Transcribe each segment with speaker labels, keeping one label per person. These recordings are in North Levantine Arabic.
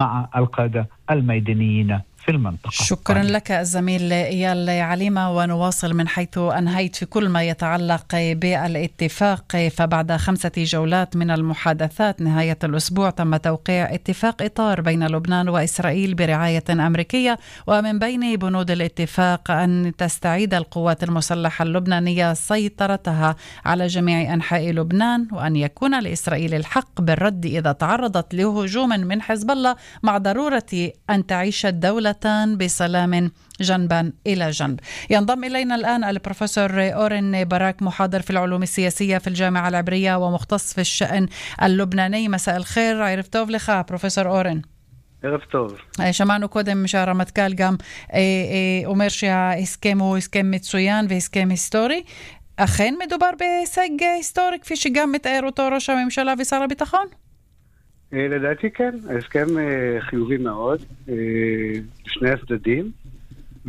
Speaker 1: مع القادة الميدانيين في المنطقة.
Speaker 2: شكرا لك الزميل إيال عليمة، ونواصل من حيث أنهيت في كل ما يتعلق بالاتفاق. فبعد 5 جولات من المحادثات نهاية الأسبوع تم توقيع اتفاق إطار بين لبنان وإسرائيل برعاية أمريكية، ومن بين بنود الاتفاق أن تستعيد القوات المسلحة اللبنانية سيطرتها على جميع أنحاء لبنان، وأن يكون لإسرائيل الحق بالرد إذا تعرضت لهجوم من حزب الله، مع ضرورة أن تعيش الدولة بسلام جنبا إلى جنب. ينضم إلينا الآن البروفيسور أورن باراك، محاضر في العلوم السياسية في الجامعة العبرية ومختص في الشأن اللبناني. مساء الخير، عرف טוב לך פרופסור אורן.
Speaker 3: ערב טוב.
Speaker 2: שמענו קודם שהרמטכ"ל גם אומר שההסכם הוא הסכם מצוין והסכם היסטורי. אכן מדובר בהישג היסטורי כפי שגם מתאר אותו ראש הממשלה ושר הביטחון?
Speaker 3: לדעתי כן, ההסכם חיובי מאוד לשני הצדדים,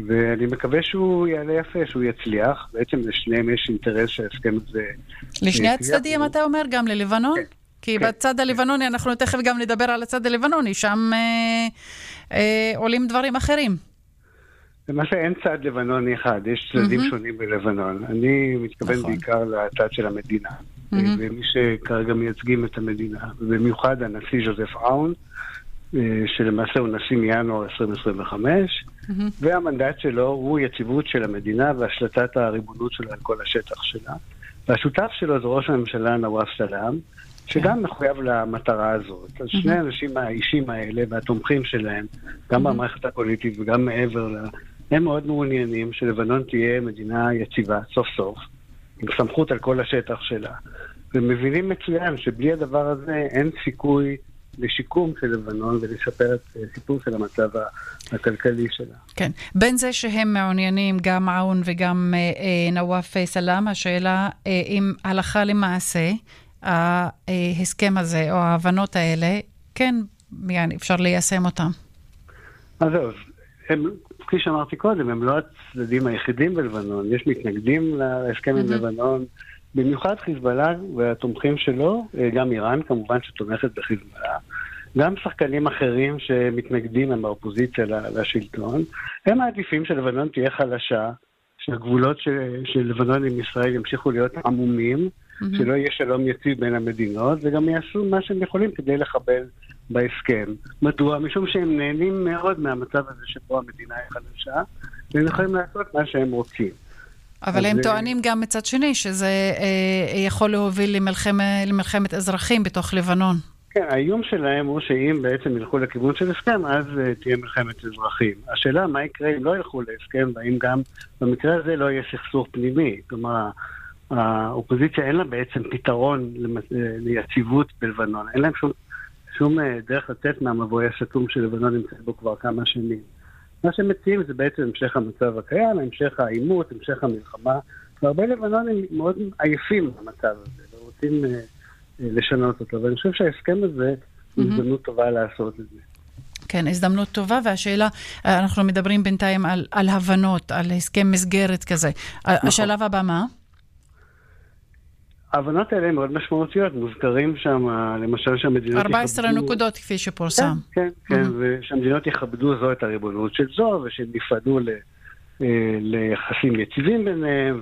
Speaker 3: ואני מקווה שהוא יעלה יפה, שהוא יצליח. בעצם לשניהם יש אינטרס שההסכם הזה...
Speaker 2: לשני הצדדים אתה אומר, גם ללבנון? כן. כי בצד הלבנוני, אנחנו תכף גם נדבר על הצד הלבנוני, שם עולים דברים אחרים.
Speaker 3: למעשה אין צד לבנוני אחד, יש צדדים שונים בלבנון. אני מתכוון בעיקר לצד של המדינה. ומי שכרגע מייצגים את המדינה, ובמיוחד הנשיא ז'וזף אאון, שלמעשה הוא נשיא מינואר 2025, והמנדט שלו הוא יציבות של המדינה והשלטת הריבונות שלה על כל השטח שלה. והשותף שלו זה ראש הממשלה נואף סלאם, שגם מחויב למטרה הזאת. אז שני האנשים האישים האלה והתומכים שלהם, גם במערכת הפוליטית וגם מעבר לה, הם מאוד מעוניינים שלבנון תהיה מדינה יציבה, סוף סוף, עם סמכות על כל השטח שלה. ומבינים מצוין שבלי הדבר הזה אין סיכוי לשיקום של לבנון ולשפר את סיפור של המצב הכלכלי שלה.
Speaker 2: כן. בין זה שהם מעוניינים, גם עאון וגם נואף סלאם, השאלה אם הלכה למעשה ההסכם הזה או ההבנות האלה, כן, אפשר ליישם אותם.
Speaker 3: אז זהו, כפי שאמרתי קודם, הם לא הצדדים היחידים בלבנון. יש מתנגדים להסכם עם לבנון, במיוחד חיזבאללה והתומכים שלו, גם איראן כמובן שתומכת בחיזבאללה, גם שחקנים אחרים שמתנגדים הם באופוזיציה לשלטון. הם מעדיפים שלבנון תהיה חלשה, שהגבולות של לבנון עם ישראל ימשיכו להיות עמומים, שלא יהיה שלום יציב בין המדינות, וגם יעשו מה שהם יכולים כדי לחבל בהסכם. מדוע? משום שהם נהנים מאוד מהמצב הזה שבו המדינה היא חלשה, והם יכולים לעשות מה שהם רוצים.
Speaker 2: אבל הם טוענים גם מצד שני שזה יכול להוביל למלחמת אזרחים בתוך לבנון.
Speaker 3: כן, האיום שלהם הוא שאם בעצם ילכו לכיוון של הסכם, אז תהיה מלחמת אזרחים. השאלה מה יקרה אם לא ילכו להסכם, והאם גם במקרה הזה לא יהיה סכסוך פנימי. כלומר, האופוזיציה אין לה בעצם פתרון ליציבות בלבנון. אין להם שום דרך לצאת מהמבוי הסתום של לבנון נמצא בו כבר כמה שנים. מה שהם מציעים זה בעצם המשך המצב הקיים, המשך העימות, המשך המלחמה. והרבה לבנונים מאוד עייפים במצב הזה, ורוצים לשנות אותו. ואני חושב שההסכם הזה הוא הזדמנות טובה לעשות את זה.
Speaker 2: כן, הזדמנות טובה, והשאלה, אנחנו מדברים בינתיים על הבנות, על הסכם מסגרת כזה. השלב הבא מה?
Speaker 3: ההבנות האלה מאוד משמעותיות, מוזכרים שם, למשל שהמדינות
Speaker 2: 14 נקודות כפי שפורסם.
Speaker 3: כן, כן, ושהמדינות יכבדו זו את הריבונות של זו, ושהם נפרדו ליחסים יציבים ביניהם,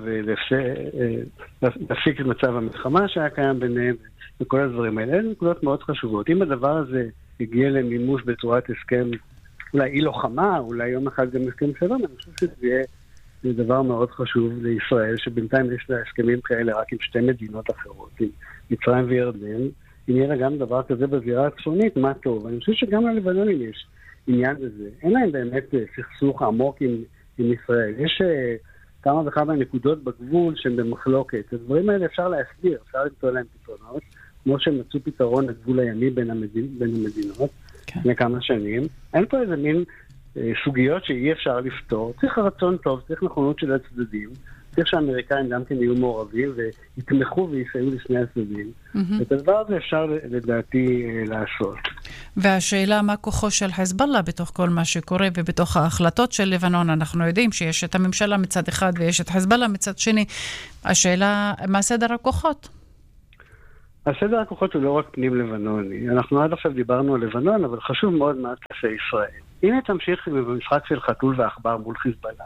Speaker 3: ולהפסיק את מצב המלחמה שהיה קיים ביניהם, וכל הדברים האלה. אלה נקודות מאוד חשובות. אם הדבר הזה הגיע למימוש בצורת הסכם, אולי אי לוחמה, אולי יום אחד גם הסכם שלום, אני חושב שזה יהיה זה דבר מאוד חשוב לישראל, שבינתיים יש לה הסכמים כאלה רק עם שתי מדינות אחרות, עם מצרים וירדן. אם יהיה לה גם דבר כזה בזירה הצפונית, מה טוב. אני חושב שגם ללבנונים יש עניין בזה. אין להם באמת סכסוך עמוק עם ישראל. יש כמה וכמה נקודות בגבול שהן במחלוקת. הדברים האלה אפשר להסביר, אפשר למצוא להם פתרונות, כמו שהם מצאו פתרון לגבול הימי בין המדינות לפני כמה שנים. אין פה איזה מין סוגיות שאי אפשר לפתור. צריך רצון טוב, צריך נכונות של הצדדים, צריך שהאמריקאים גם כן יהיו מעורבים ויתמכו ויסייעו לשני הצדדים. את הדבר הזה אפשר לדעתי לעשות.
Speaker 2: והשאלה מה כוחו של חיזבאללה בתוך כל מה שקורה ובתוך ההחלטות של לבנון. אנחנו יודעים שיש את הממשלה מצד אחד ויש את חיזבאללה מצד שני. השאלה מה סדר הכוחות?
Speaker 3: הסדר הכוחות הוא לא רק פנים לבנוני. אנחנו עד עכשיו דיברנו על לבנון, אבל חשוב מאוד מה תעשה ישראל. הנה תמשיך במשחק של חתול ועכבר מול חיזבאללה.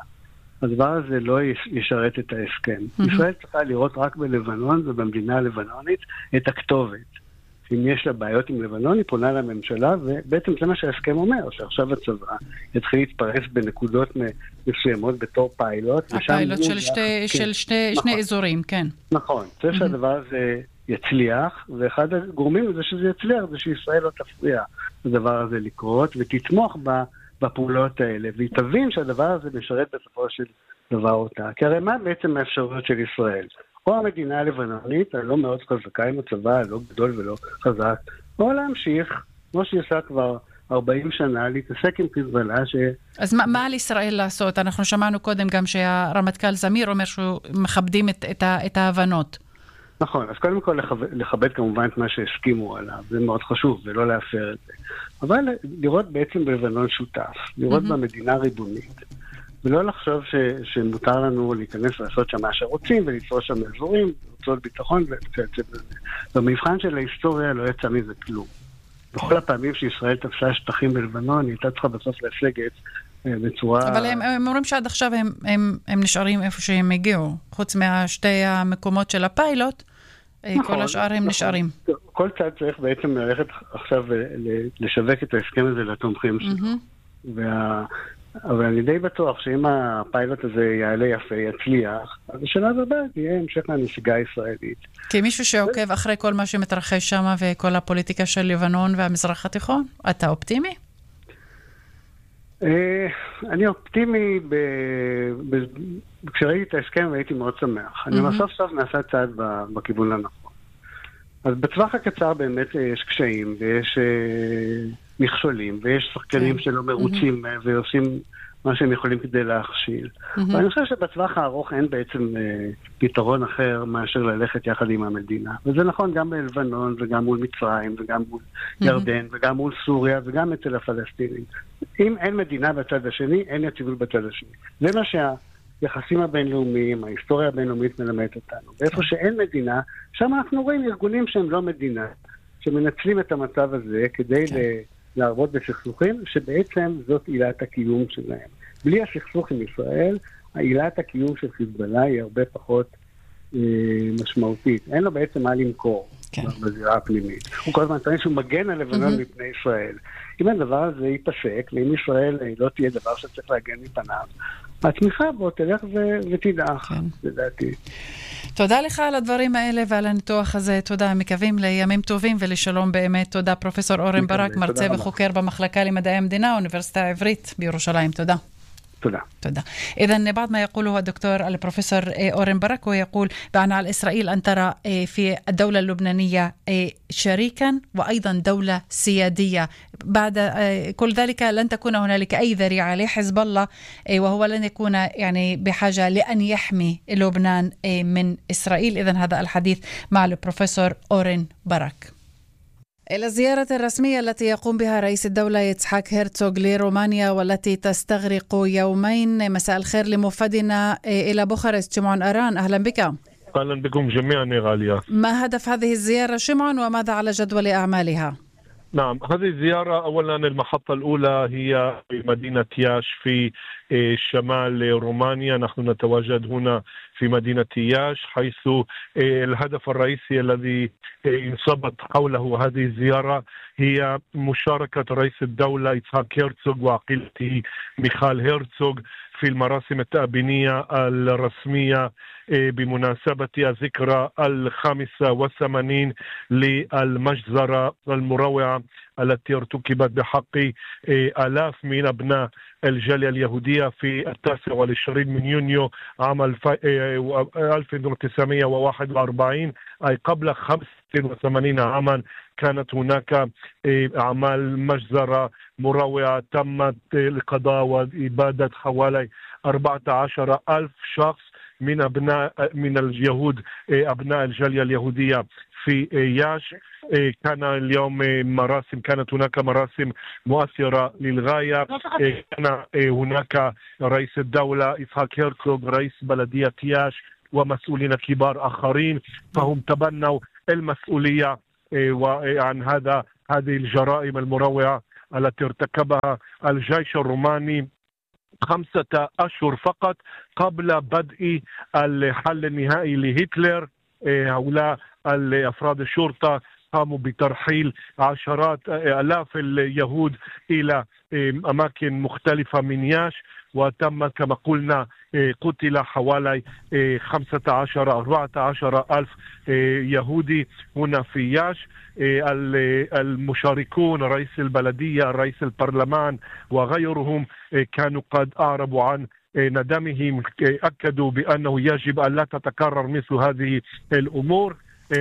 Speaker 3: הדבר הזה לא ישרת את ההסכם. ישראל צריכה לראות רק בלבנון ובמדינה הלבנונית את הכתובת. אם יש לה בעיות עם לבנון, היא פונה לממשלה, ובעצם זה מה שההסכם אומר, שעכשיו הצבא יתחיל להתפרס בנקודות מסוימות בתור פיילוט.
Speaker 2: הפיילוט של שני אזורים, כן.
Speaker 3: נכון. צריך שהדבר הזה יצליח, ואחד הגורמים לזה שזה יצליח, זה שישראל לא תפריע לדבר הזה לקרות, ותתמוך בפעולות האלה, והיא תבין שהדבר הזה משרת בסופו של דבר אותה. כי הרי מה בעצם האפשרויות של ישראל? או המדינה הלבנונית, הלא מאוד חזקה עם הצבא, הלא גדול ולא חזק, או להמשיך, כמו שהיא עושה כבר 40 שנה, להתעסק עם חיזבאללה
Speaker 2: אז מה על ישראל לעשות? אנחנו שמענו קודם גם שהרמטכ"ל זמיר אומר שהוא מכבדים את ההבנות.
Speaker 3: נכון, אז קודם כל לכבד כמובן את מה שהסכימו עליו, זה מאוד חשוב, ולא להפר את זה. אבל לראות בעצם בלבנון שותף, לראות במדינה ריבונית, ולא לחשוב שמותר לנו להיכנס לעשות שם מה שרוצים, ולתפוס שם אזורים, רצות ביטחון, במבחן של ההיסטוריה לא יצא מזה כלום. בכל הפעמים שישראל תפסה שטחים בלבנון, היא הייתה צריכה בסוף להשגת בצורה...
Speaker 2: אבל הם אומרים שעד עכשיו הם נשארים איפה שהם הגיעו, חוץ מהשתי המקומות של הפיילוט, כל השאר הם נשארים.
Speaker 3: כל צד צריך בעצם ללכת עכשיו לשווק את ההסכם הזה לתומכים שלו. אבל אני די בטוח שאם הפיילוט הזה יעלה יפה, יצליח, אז בשלב הבא יהיה המשך לנסיגה הישראלית.
Speaker 2: כמישהו שעוקב אחרי כל מה שמתרחש שם וכל הפוליטיקה של לבנון והמזרח התיכון, אתה אופטימי?
Speaker 3: אני אופטימי, כשראיתי את ההסכם הייתי מאוד שמח. אני בסוף סוף נעשה צעד בכיוון הנכון. אז בטווח הקצר באמת יש קשיים ויש מכשולים ויש שחקנים שלא מרוצים ועושים מה שהם יכולים כדי להכשיל. ואני חושב שבטווח הארוך אין בעצם פתרון אחר מאשר ללכת יחד עם המדינה. וזה נכון גם בלבנון וגם מול מצרים וגם מול ירדן וגם מול סוריה וגם אצל הפלסטינים. אם אין מדינה בצד השני, אין יציבות בצד השני. זה מה שהיחסים הבינלאומיים, ההיסטוריה הבינלאומית מלמדת אותנו. ואיפה שאין מדינה, שם אנחנו רואים ארגונים שהם לא מדינה, שמנצלים את המצב הזה כדי לערבות בסכסוכים, שבעצם זאת עילת הקיום שלהם. בלי הסכסוך עם ישראל, עילת הקיום של חיזבאללה היא הרבה פחות משמעותית. אין לו בעצם מה למכור בזירה הפנימית. הוא כל הזמן טוען שהוא מגן על לבנון מפני ישראל. אם הדבר הזה ייפסק, ואם ישראל לא תהיה דבר שצריך להגן מפניו, התמיכה בו תלך ותדעך, לדעתי.
Speaker 2: תודה לך על הדברים האלה ועל הניתוח הזה. תודה, מקווים לימים טובים ולשלום באמת. תודה פרופסור אורן ברק, מרצה וחוקר במחלקה למדעי המדינה, האוניברסיטה העברית בירושלים. תודה. تודה. إذن بعد ما يقوله الدكتور البروفيسور أورن برك ويقول بأن على إسرائيل أن ترى في الدولة اللبنانية شريكا وأيضا دولة سيادية. بعد كل ذلك لن تكون هنالك أي ذريعة لحزب الله وهو لن يكون يعني بحاجة لأن يحمي لبنان من إسرائيل. إذن هذا الحديث مع البروفيسور أورن برك. إلى الزيارة الرسمية التي يقوم بها رئيس الدولة يتحاك هيرتسوغ لرومانيا والتي تستغرق يومين. مساء الخير لموفدنا إلى بوخارست شمعون أران، أهلا بك.
Speaker 4: أهلا بكم جميعا يا غالية.
Speaker 2: ما هدف هذه الزيارة شمعون وماذا على جدول أعمالها؟
Speaker 4: نعم، هذه الزيارة أولا المحطة الأولى هي في مدينة ياش في شمال رومانيا. نحن نتواجد هنا في مدينة ياش حيث الهدف الرئيسي الذي انصبت حوله هذه الزيارة هي مشاركة رئيس الدولة يتحاك هيرتسوغ وعقيلته ميخال هيرتسوغ في المراسم التأبينية الرسمية بمناسبة الذكرى 85 للمجزرة المروعة التي ارتكبت بحق آلاف من أبناء الجالية اليهودية في 29 من يونيو عام 1941، أي قبل 85 عاما. كانت هناك أعمال مجزرة مروعة تمت لقضاء وإبادة حوالي 14,000 شخص من اليهود أبناء الجالية اليهودية في ياش. كان اليوم كانت هناك مراسم مؤثرة للغاية. كان هناك رئيس الدولة يتحاك هيرتسوغ، رئيس بلدية ياش، ومسؤولين كبار آخرين، فهم تبنوا المسؤولية وعن هذه الجرائم المروعة التي ارتكبها الجيش الروماني 5 أشهر فقط قبل بدء الحل النهائي لهتلر. هؤلاء أفراد الشرطة قاموا بترحيل عشرات آلاف اليهود إلى أماكن مختلفة من ياش، وتم كما قلنا قتل حوالي 14 ألف يهودي هنا في ياش. المشاركون رئيس البلدية، رئيس البرلمان وغيرهم كانوا قد أعربوا عن ندمهم، أكدوا بأنه يجب أن لا تتكرر مثل هذه الأمور.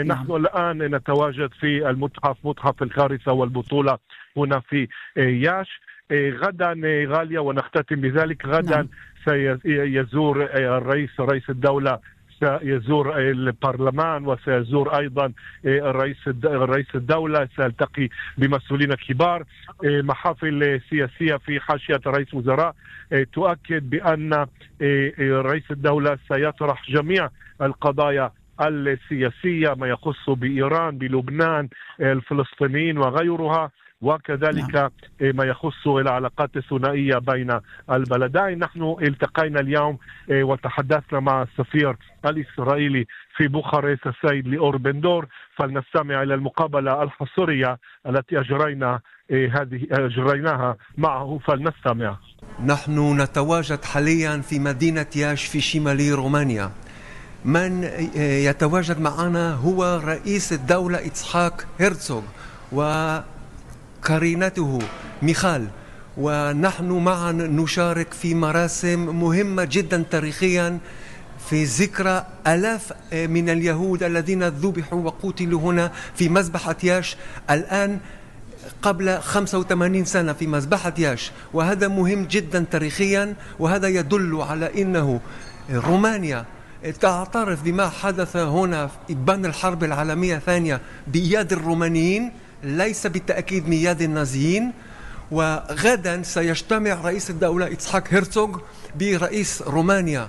Speaker 4: نحن الآن نتواجد في المتحف، متحف الكارثة والبطولة هنا في ياش. غدا غالية ونختتم بذلك، غدا سيزور رئيس الدولة، سيزور البرلمان وسيزور أيضا رئيس الدولة، سيلتقي بمسؤولين كبار. محافل سياسية في حاشية رئيس وزراء تؤكد بأن رئيس الدولة سيطرح جميع القضايا السياسية ما يخص بإيران، بلبنان، الفلسطينيين وغيرها، وكذلك ما يخص العلاقات الثنائية بين البلدين. نحن التقينا اليوم وتحدثنا مع السفير الإسرائيلي في بوخارست السيد ليور بندور، فلنستمع إلى المقابلة الحصرية التي أجريناها معه، فلنستمع.
Speaker 5: نحن نتواجد حاليا في مدينة ياش في شمال رومانيا. من يتواجد معنا هو رئيس الدولة إتسحاق هيرتزوغ وقرينته ميخال، ونحن معا نشارك في مراسم مهمة جدا تاريخيا في ذكرى آلاف من اليهود الذين ذبحوا وقتلوا هنا في مذبحة ياش الآن قبل 85 سنة في مذبحة ياش. وهذا مهم جدا تاريخيا، وهذا يدل على أنه رومانيا تعترف بما حدث هنا في إبان الحرب العالمية الثانية بيد الرومانيين، ليس بالتأكيد بيد النازيين. وغدا سيجتمع رئيس الدولة إتسحاق هيرتزوغ برئيس رومانيا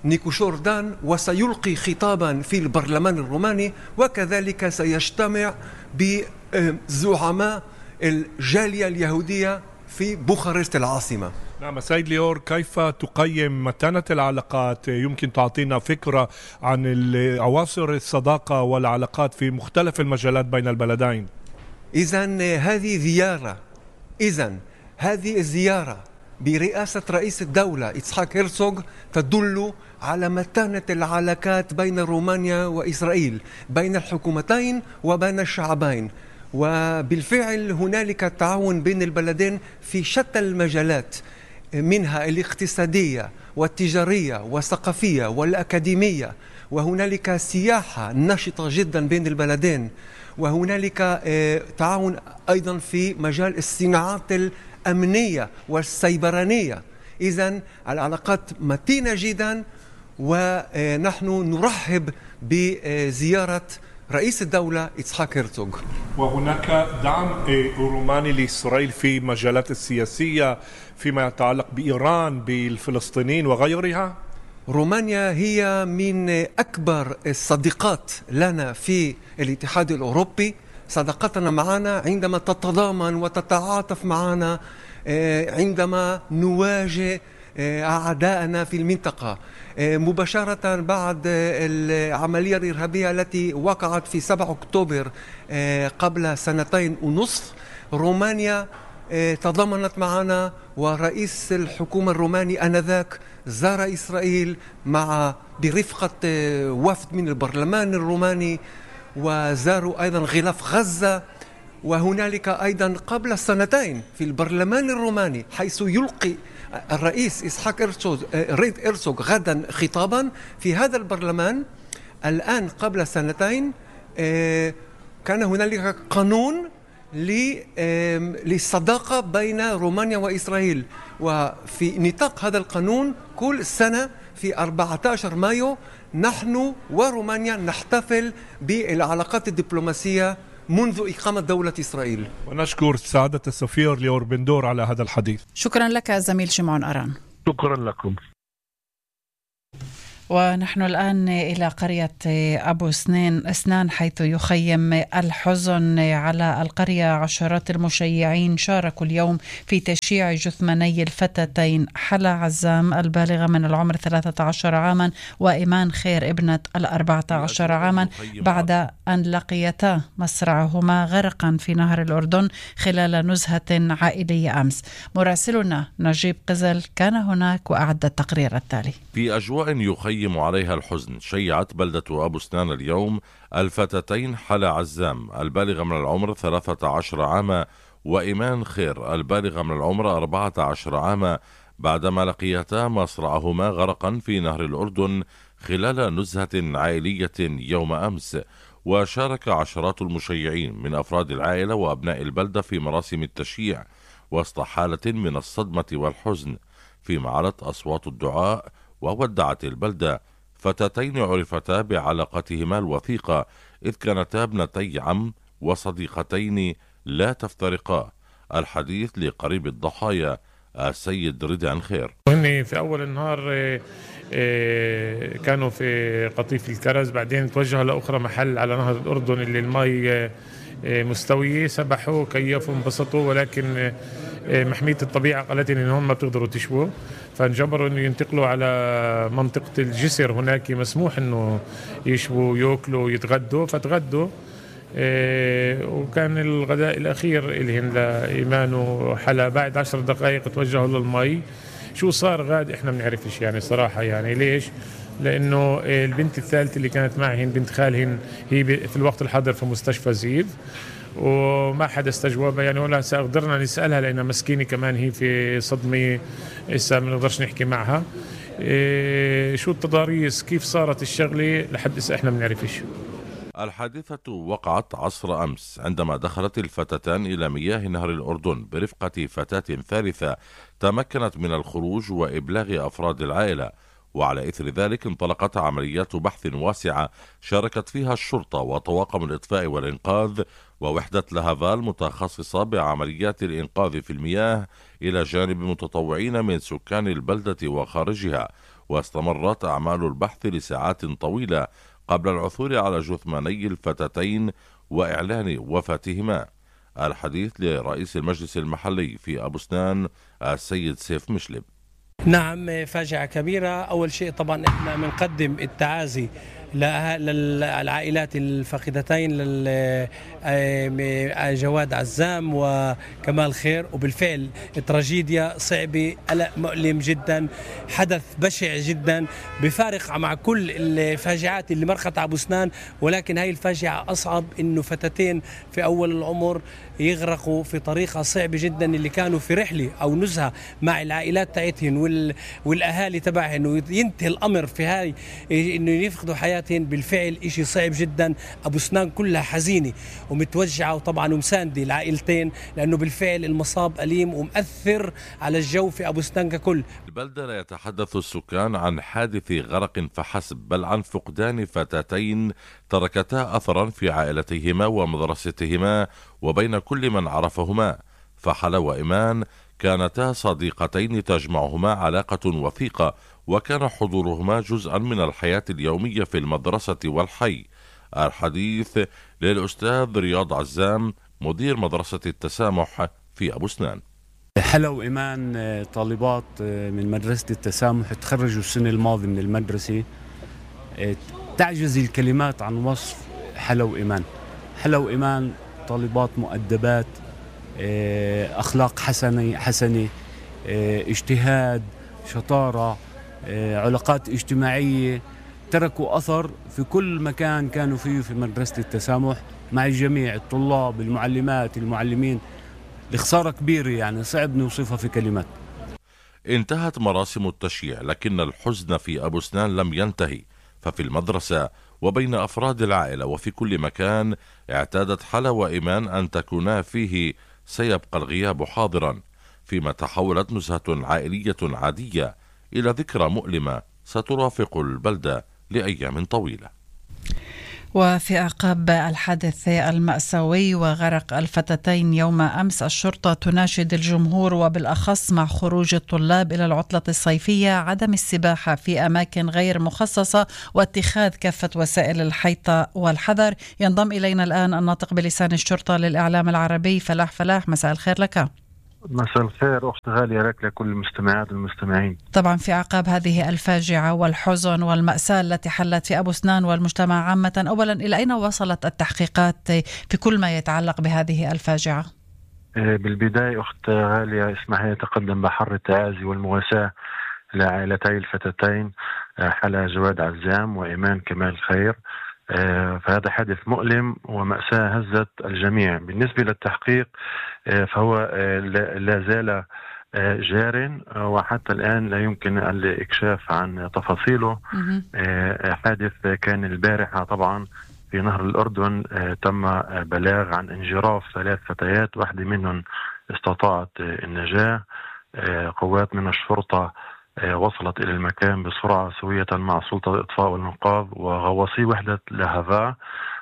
Speaker 5: نيكو شوردان وسيلقي خطابا في البرلمان الروماني، وكذلك سيجتمع بزعماء الجالية اليهودية في بوخارست العاصمة.
Speaker 4: نعم سيد ليور، كيف تقيم متانة العلاقات؟ يمكن تعطينا فكرة عن عناصر الصداقة والعلاقات في مختلف المجالات بين البلدين.
Speaker 5: إذن هذه الزيارة برئاسة رئيس الدولة إتسحاق هيرتزوغ تدل على متانة العلاقات بين رومانيا وإسرائيل، بين الحكومتين وبين الشعبين. وبالفعل هنالك تعاون بين البلدين في شتى المجالات، منها الاقتصادية والتجارية والثقافية والأكاديمية، وهنالك سياحة نشطة جدا بين البلدين، وهنالك تعاون أيضا في مجال الصناعات الأمنية والسيبرانية. إذن العلاقات متينة جدا، ونحن نرحب بزيارة رئيس الدولة إتسحاق هيرتزوغ.
Speaker 4: وهناك دعم روماني لإسرائيل في مجالات السياسية فيما يتعلق بإيران، بالفلسطينيين وغيرها.
Speaker 5: رومانيا هي من أكبر الصديقات لنا في الاتحاد الأوروبي. صداقتنا معنا عندما تتضامن وتتعاطف معنا عندما نواجه أعداءنا في المنطقة. مباشرة بعد العملية الإرهابية التي وقعت في 7 أكتوبر قبل 2.5 سنين، رومانيا تضامنت معنا، ورئيس الحكومة الروماني آنذاك زار إسرائيل برفقة وفد من البرلمان الروماني، وزاروا أيضا غلاف غزة. وهنالك أيضا قبل 2 سنين في البرلمان الروماني حيث يلقي الرئيس إتسحاق هيرتزوغ غدا خطابا في هذا البرلمان. الآن قبل 2 سنين كان هنالك قانون للصداقة بين رومانيا وإسرائيل، وفي نطاق هذا القانون كل سنة في 14 مايو نحن ورومانيا نحتفل بالعلاقات الدبلوماسية منذ إقامة دولة إسرائيل.
Speaker 4: ونشكر سعادة السفير ليور بندور على هذا الحديث.
Speaker 2: شكرا لك زميل شمعون أران.
Speaker 4: شكرا لكم.
Speaker 2: ونحن الآن إلى قرية أبو أسنان حيث يخيم الحزن على القرية. عشرات المشيعين شاركوا اليوم في تشييع جثماني الفتاتين حلا عزام البالغة من العمر 13 عاما وإيمان خير ابنة 14 عاما بعد أن لقيتا مصرعهما غرقا في نهر الأردن خلال نزهة عائلية أمس. مراسلنا نجيب قزل كان هناك وأعد التقرير التالي.
Speaker 6: في أجواء يخيم عليها الحزن شيعت بلدة أبو أسنان اليوم الفتاتين حلا عزام البالغة من العمر 13 عاما وإيمان خير البالغة من العمر 14 عاما بعدما لقيتا مصرعهما غرقا في نهر الأردن خلال نزهة عائلية يوم أمس. وشارك عشرات المشيعين من أفراد العائلة وأبناء البلدة في مراسم التشييع وسط حالة من الصدمة والحزن، فيما علت أصوات الدعاء وودعت البلدة فتاتين عرفتا بعلاقتهما الوثيقة إذ كانتا ابنتي عم وصديقتين لا تفترقا. الحديث لقريب الضحايا السيد رضا خير.
Speaker 7: هن في أول النهار كانوا في قطيف الكرز، بعدين توجهوا لأخرى محل على نهر الأردن اللي المي مستوية، سبحوا كيفوا انبسطوا، ولكن محمية الطبيعة قالت إن هم ما بتقدروا تشووا، فانجبروا إنه ينتقلوا على منطقة الجسر. هناك مسموح إنه يشووا يأكلوا يتغدوا، فتغدوا وكان الغداء الأخير اللي لإيمان وحلا بعد 10 دقائق توجهوا للمي. شو صار غاد إحنا بنعرفش يعني صراحة، يعني ليش؟ لأنه البنت الثالثة اللي كانت معهن بنت خالهن هي في الوقت الحاضر في مستشفى زيف وما حدا استجوبها يعني، ولا قدرنا نسألها لأنها مسكينة كمان هي في صدمة إسا ما نقدرش نحكي معها. شو التضاريس كيف صارت الشغلة لحد إسا إحنا بنعرفش.
Speaker 6: الحادثة وقعت عصر أمس عندما دخلت الفتاتان إلى مياه نهر الأردن برفقة فتاة ثالثة تمكنت من الخروج وإبلاغ أفراد العائلة، وعلى إثر ذلك انطلقت عمليات بحث واسعة شاركت فيها الشرطة وطواقم الإطفاء والإنقاذ ووحدة لهافال متخصصة بعمليات الإنقاذ في المياه إلى جانب متطوعين من سكان البلدة وخارجها. واستمرت أعمال البحث لساعات طويلة قبل العثور على جثماني الفتاتين وإعلان وفاتهما. الحديث لرئيس المجلس المحلي في أبو أسنان السيد سيف مشلب.
Speaker 8: نعم، فاجعة كبيرة. أول شيء طبعا إحنا بنقدم التعازي للعائلات الفاقدتين جواد عزام وكمال خير، وبالفعل تراجيديا صعبة، قلق مؤلم جدا، حدث بشع جدا بفارق مع كل الفاجعات اللي مرقت أبو أسنان، ولكن هاي الفاجعة أصعب إنه فتاتين في أول العمر يغرقوا في طريقة صعبة جدا، اللي كانوا في رحلة أو نزهة مع العائلات تاعتهن والأهالي تبعهن، وينتهي الأمر في هاي إنه يفقدوا حياتهن. بالفعل إشي صعب جدا. أبو أسنان كلها حزينة ومتوجعة وطبعا ومساندة العائلتين، لأنه بالفعل المصاب أليم ومؤثر على الجو في أبو أسنان ككل.
Speaker 6: البلدة لا يتحدث السكان عن حادث غرق فحسب، بل عن فقدان فتاتين تركتا أثرا في عائلتهما ومدرستهما وبين كل من عرفهما. فحلا وإيمان كانتا صديقتين تجمعهما علاقة وثيقة، وكان حضورهما جزءا من الحياة اليومية في المدرسة والحي. الحديث للأستاذ رياض عزام مدير مدرسة التسامح في أبو أسنان.
Speaker 9: حلا وإيمان طالبات من مدرسة التسامح تخرجوا السنة الماضية من المدرسة. تعجز الكلمات عن وصف حلا وإيمان. حلا وإيمان طالبات مؤدبات، أخلاق حسنة، اجتهاد، شطارة، علاقات اجتماعية، تركوا أثر في كل مكان كانوا فيه في مدرسة التسامح مع الجميع، الطلاب، المعلمات، المعلمين. لخسارة كبيرة يعني صعب نوصفها في كلمات.
Speaker 6: انتهت مراسم التشييع، لكن الحزن في أبو أسنان لم ينتهي، ففي المدرسة وبين أفراد العائلة وفي كل مكان اعتادت حلا وإيمان أن تكونا فيه سيبقى الغياب حاضرا، فيما تحولت نزهة عائلية عادية إلى ذكرى مؤلمة سترافق البلدة لأيام طويلة.
Speaker 2: وفي أعقاب الحادث المأساوي وغرق الفتاتين يوم أمس، الشرطة تناشد الجمهور وبالأخص مع خروج الطلاب إلى العطلة الصيفية عدم السباحة في أماكن غير مخصصة واتخاذ كافة وسائل الحيطة والحذر. ينضم إلينا الآن الناطق بلسان الشرطة للإعلام العربي فلاح. مساء الخير لك.
Speaker 10: مساء الخير أخت غالية لك لكل المستمعات والمستمعين.
Speaker 2: طبعا في أعقاب هذه الفاجعة والحزن والمأساة التي حلت في أبو سنان والمجتمع عامة، أولا إلى أين وصلت التحقيقات في كل ما يتعلق بهذه الفاجعة؟
Speaker 10: بالبداية أخت غالية اسمحي أتقدم بحر التعازي والمواساة لعائلتي الفتاتين حلا جواد عزام وإيمان كمال خير. فهذا حادث مؤلم ومأساة هزت الجميع. بالنسبة للتحقيق فهو لا زال جار وحتى الآن لا يمكن الإكشاف عن تفاصيله. حادث كان البارحة طبعا في نهر الأردن، تم بلاغ عن انجراف 3 فتيات، واحدة منهم استطاعت النجاة. قوات من الشرطة وصلت إلى المكان بسرعة سوية مع سلطة الإطفاء والإنقاذ وغواصي وحدة لهفا،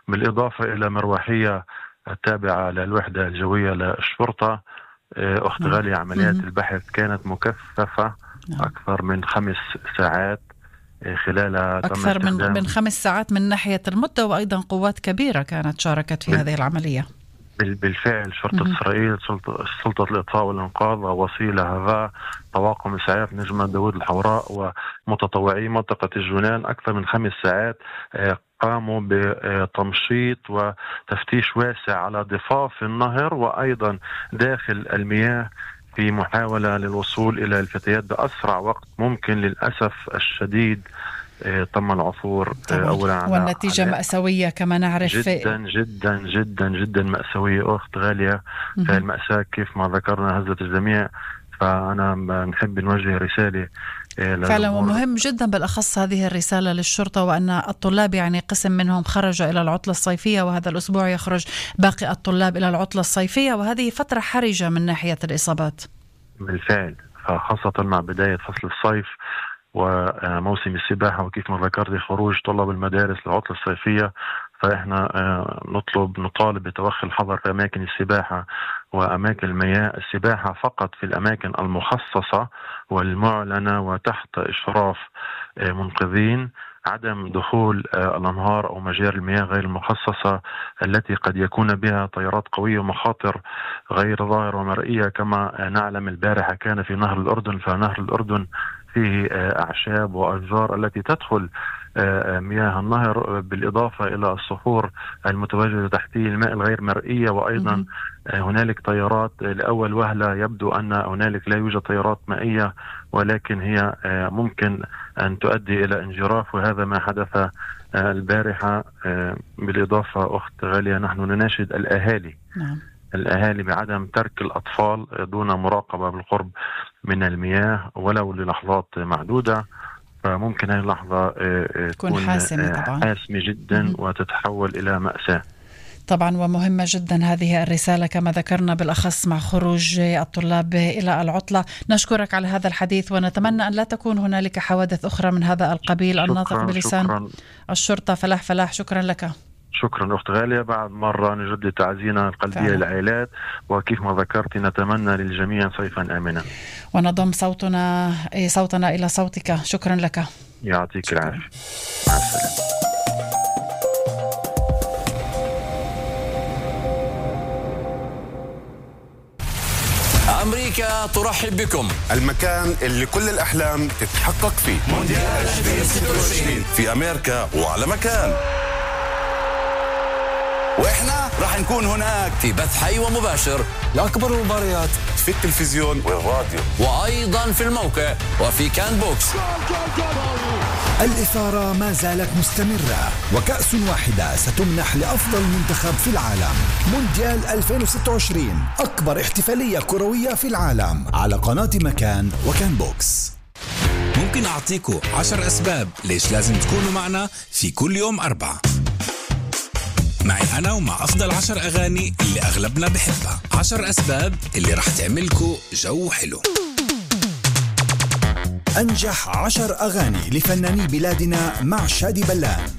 Speaker 10: بالإضافة إلى مروحية التابعة للوحدة الجوية للشرطة. أخت غالية عمليات البحث كانت مكثفة أكثر من 5 ساعات خلال
Speaker 2: أكثر من 5 ساعات من ناحية المدة، وأيضا قوات كبيرة كانت شاركت في هذه العملية.
Speaker 10: بالفعل شرطة إسرائيل، سلطة الإطفاء والإنقاذ، ووسيلة هذا طواقم إسعاف نجمة داود الحوراء ومتطوعي منطقة الجولان أكثر من 5 ساعات قاموا بتمشيط وتفتيش واسع على ضفاف النهر وأيضا داخل المياه في محاولة للوصول إلى الفتيات بأسرع وقت ممكن. للأسف الشديد تم العثور أولا
Speaker 2: والنتيجة مأساوية كما نعرف.
Speaker 10: جدا جدا جدا جدا مأساوية أخت غالية. المأساة كيف ما ذكرنا هزت الجميع، فأنا نحب نوجه رسالة
Speaker 2: فعلا، ومهم جدا بالأخص هذه الرسالة للشرطة، وأن الطلاب يعني قسم منهم خرج إلى العطلة الصيفية، وهذا الأسبوع يخرج باقي الطلاب إلى العطلة الصيفية، وهذه فترة حرجة من ناحية الإصابات.
Speaker 10: بالفعل، خاصة مع بداية فصل الصيف وموسم السباحة، وكيف ما ذكرت خروج طلاب المدارس للعطلة الصيفية، فإحنا نطالب بتوخي الحذر في أماكن السباحة وأماكن المياه. السباحة فقط في الأماكن المخصصة والمعلنة وتحت إشراف منقذين. عدم دخول الأنهار أو مجاري المياه غير المخصصة التي قد يكون بها تيارات قوية ومخاطر غير ظاهرة ومرئية. كما نعلم البارحة كان في نهر الأردن، فنهر الأردن فيه أعشاب وأشجار التي تدخل مياه النهر، بالإضافة إلى الصخور المتواجدة تحتيه الماء الغير مرئية. وأيضا هنالك تيارات لأول وهلة يبدو أن هنالك لا يوجد تيارات مائية، ولكن هي ممكن أن تؤدي إلى انجراف، وهذا ما حدث البارحة. بالإضافة أخت غالية نحن نناشد الأهالي بعدم ترك الأطفال دون مراقبة بالقرب من المياه ولو للحظات معدودة، فممكن هذه اللحظة تكون حاسمة جدا وتتحول إلى مأساة.
Speaker 2: طبعا، ومهمة جدا هذه الرسالة كما ذكرنا، بالأخص مع خروج الطلاب إلى العطلة. نشكرك على هذا الحديث، ونتمنى أن لا تكون هنالك حوادث أخرى من هذا القبيل. الناطق بلسان الشرطة فلاح، شكرا لك.
Speaker 10: شكرا أخت غالية. بعد مرة نجدد تعزينا القلبية للعائلات، وكيف ما ذكرت نتمنى للجميع صيفا آمنا،
Speaker 2: ونضم صوتنا إلى صوتك. شكرا لك.
Speaker 10: يعطيك العافية. مع السلامة.
Speaker 11: أمريكا ترحب بكم،
Speaker 12: المكان اللي كل الأحلام تتحقق فيه.
Speaker 11: مونديال 2026
Speaker 12: في أمريكا وعلى مكان،
Speaker 11: وإحنا راح نكون هناك في بث حي ومباشر لأكبر المباريات
Speaker 12: في التلفزيون والراديو،
Speaker 11: وأيضا في الموقع وفي كان بوكس.
Speaker 13: الإثارة ما زالت مستمرة، وكأس واحدة ستمنح لأفضل منتخب في العالم. مونديال 2026 أكبر احتفالية كروية في العالم على قناة مكان وكان بوكس.
Speaker 14: ممكن أعطيكم 10 أسباب ليش لازم تكونوا معنا في كل يوم 4 معي أنا ومع أفضل 10 أغاني اللي أغلبنا بحبها. 10 أسباب اللي رح تعملكوا جو حلو.
Speaker 13: أنجح 10 أغاني لفناني بلادنا مع شادي بلان.